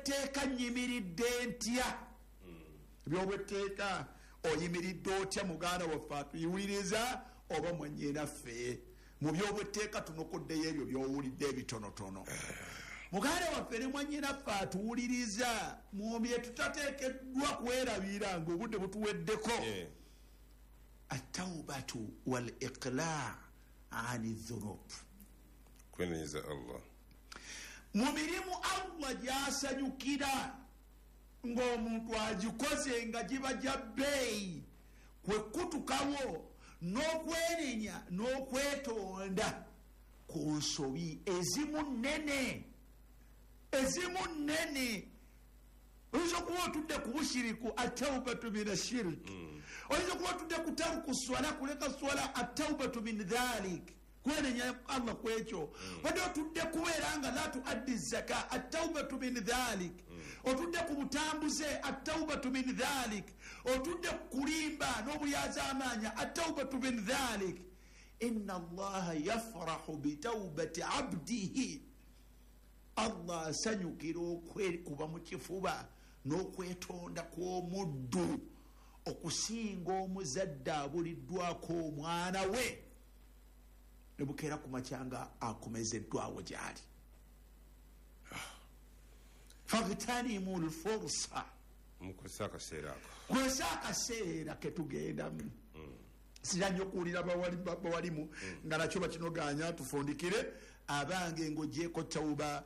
Byobwetteeka nnyimiridde ntya? Byobwetteeka oyimiridde otya muganda waffe atuyiwuliriza oba mwannyinaffe? Mu byobwetteeka tunokoddeyo ebyo by'owulidde ebitonotono. Muganda waffe ne mwannyinaffe atuwuliriza, mu bye tutateekeddwa kwerabira ng'obudde butuweddeko, ataubatu wal iqla ani dhunub, kwenenyeza Allah mu mirimu Allah gy'asanyukira ng'omuntu agikoze nga giba gya bbeeyi, kwe kutukawo n'okwenenya n'okwetonda ku nsobi ezimu nnene. Oyinza okuba otudde ku bushiriku, ataubatu min ashiriki. Oyinza okuba otudde ku taruku swala, kuleka swala, ataubatu min dhalik, kwenenya Allah kwekyo. Wadde otudde kubeera nga la tuaddi zaka, ataubatu min dhalik. Otudde ku butambuze, ataubatu min dhalik. Otudde ku kulimba n'obulyazaamaanya, ataubatu min dhalik. Inna Allaha yafrahu bitaubati abdihi, Allah asanyukira okwekuba mu kifuba n'okwetonda kw'omuddu okusinga omuzadde abuliddwako omwana we ne bukeera ku makya nga akomezeddwawo gy'ali. Fagtanimu lfursa, mukozesa akaseera ako, kozesa akaseera ketugendamu. Sira nnyo okuwulira bawalimu nga nakyo bakinoganya. Tufundikire abange ng'ogyeko tauba,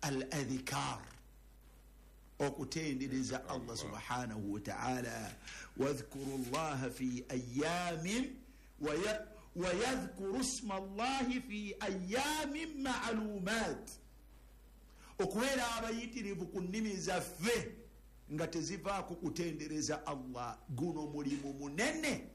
al adhikar, okutendereza Allah subhanahu wataala. Wadhkuru llaha fi ayamin wayadhkuru sma llahi fi ayamin maalumat, okubeera abayitirivu ku nnimi zaffe nga tezivaako kutendereza Allah. Guno mulimu munene,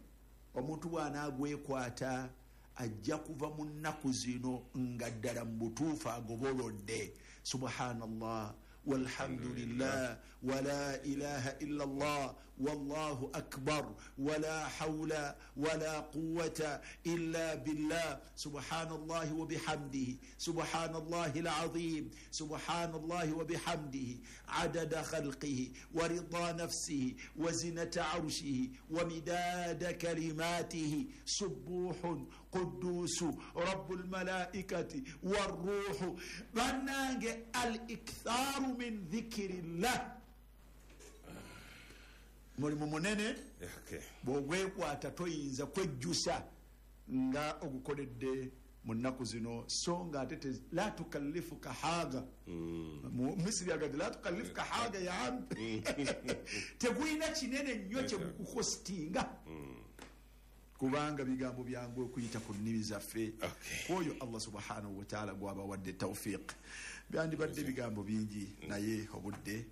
omuntu bw'anaagwekwata ajja kuva mu nnaku zino nga ddala mu butuufu agobolodde. Subhanallah walhamdulillah wala ilaha illa Allah wallahu akbar wala hawla wala quwwata illa billah, subhanallahi wa bihamdihi, subhanallahi alazim, subhanallahi wa bihamdihi adada khalqihi wa rida nafsihi wa zinata arshihi wa midada kalimatihi, subuhun qudusu rabbul malaikati warruhu. Bannange, al iktharu min dhikirillah mulimu munene. Bwogwekwata toyinza kwejjusa nga ogukoledde mu nnaku zino. So nga ate la tukallifuka haga, Misiri agati la tukallifuka haga ya ambi, tegulina kinene nnyo kyegukukostinga, kubanga bigambo byangu okuyita ku nnimi zaffe. Kwoyo Allah subhanahu wataala gwabawadde taufiq. Byandibadde bigambo bingi, naye obudde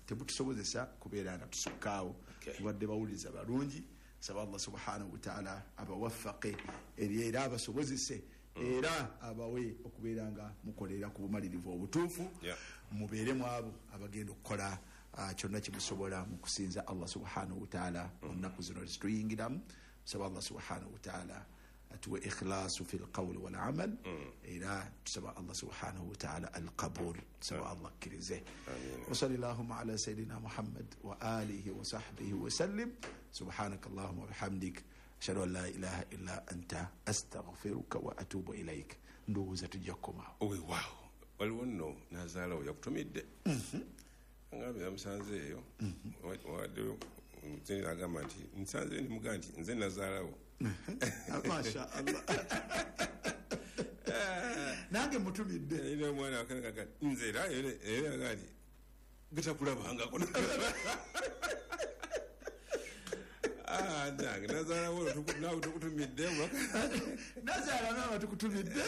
tebutusobozesa kubeera nga tusukkaawo. Mubadde bawuliriza balungi. Saba Allah subhanahu wataala abawaffaqe era abasobozese era abawe okubeera nga mukolera ku bumalirivu obutuufu. Mubeeremu abo abagenda okukola kyonna kimusobola mu kusinza Allah subhanahu wataala mu nnaku zino zituyingiramu. Saba Allah subhanahu wataala atuwe ikhlasu fi lqawli walamal, era tusaba Allah subhanahu wataala alqabul. Tusaba Allah akkirize. Wasali llahuma ala sayidina Muhammad wa alihi wa sahbihi wasallim. Subhanaka allahuma wabihamdik, ashhadu an la ilaha illa anta, astaghfiruka wa atubu ilaik. Ndowooza tujja kukomaawo. Weewaawo, waliwo nno nazaalawo yakutumidde, ngambye yamusanze eyo, waddeyo agamba nti nsanze ndimugaa nti nze nazaalawo. Masha Allah, nange mutumidde. Omwana nze era era nti getakulabangako nange nazaalawo, naawe tukutumidde. Nazaala nawe tukutumidde,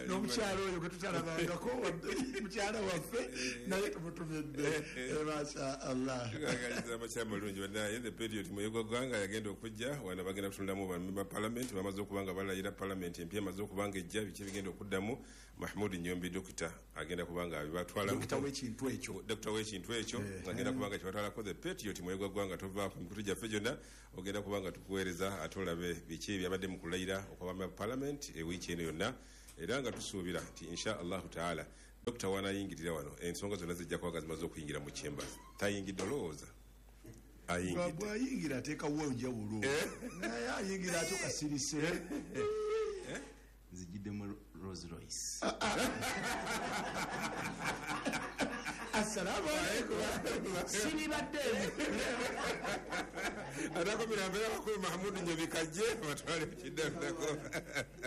n'omukyalo oyo gwe tutalabangako, mukyala waffe, naye tumutumidde. Masha Allah. Tukagaliza amakya amalungi bannaye. The Patriot Muyegwa Gwanga yagenda okujja wano, bagenda kutunulamu ba parliament bamaze okuba nga balayira, parliament empya emaze okuba nga ejja, biki ebigenda okuddamu. Mahmud Nyombi dokita agenda kuba nga abibatwala. Dokita w'ekintu ekyo. Dokita w'ekintu ekyo agenda kuba nga kibatwalako. The Patriot Muyegwa Gwanga, tovaako mikutu gyaffe gyonna, ogenda kuba nga tukuweereza ate olabe biki ebyabadde mu kulayira okwabama parliament ewiiki eno yonna, era nga tusuubira nti insha Allahu taala Dokita wanayingirira wano, ensonga zonna zijja kuba nga zimaze okuyingira mu chambers. Tayingidde, olowooza ayingidde? Bwayingira ateekawo enjawulo, naye ayingira ate kasirise. Nzigiddemu Rolls Royce. Assalamu alaikum, siribadde. Atakomera mbeera bakulu Mahamudu Nyobikajje batwale ku kiddako.